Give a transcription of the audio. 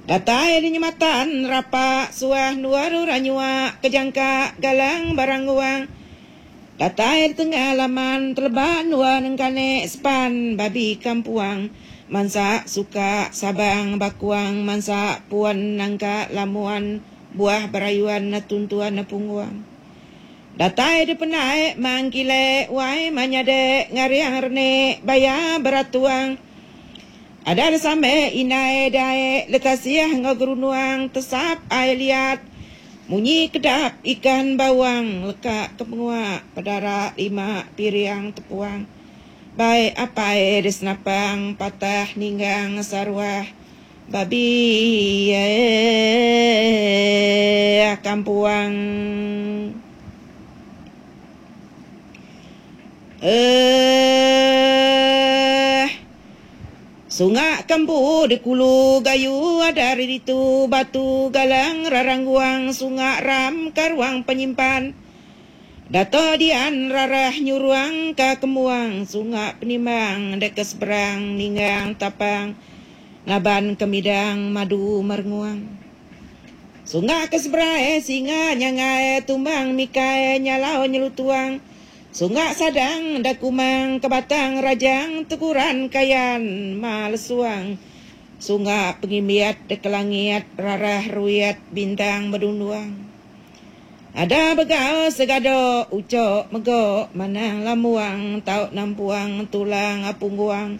Datai di nyematan rapa suah endur orang nyua kejangka galang barang guang. Datai di tengah laman teleba endur nengkane sepan babi kampuang mansa suka sabang bakuang mansa pun nangka lamuan buah berayuan tuntuan pungguang. Datai di pendai mang kile wai manyade ngariang renik baya beratuang. Ada desame indai dae lekasih enggau gerunuang tesap ai liat munyi kedap ikan bawang leka ke pengua pedara lima piring tepuang bai apai disenapang patah ninggang saruah babi kampuang. Eeh. Sunga kembu di kulu gayu ada ari ditu batu galang rarang guang sunga ram ka ruang penyimpan Dato dian rarah nyuruang ka kembuang sunga penimbang deka seberang ninggang tapang ngaban kemidang madu merenguang. Sunga ke seberai singa nyangai tumbang mikai nyalau nyelutuang Sunga sadang enda kumang ke batang rajang teguran kayan ma lesuang Sunga pengimbiat deka langit rarah ruit bintang bedunduang Ada begau segado ucok mego manang lambuang tau nampuang tulang pungguang.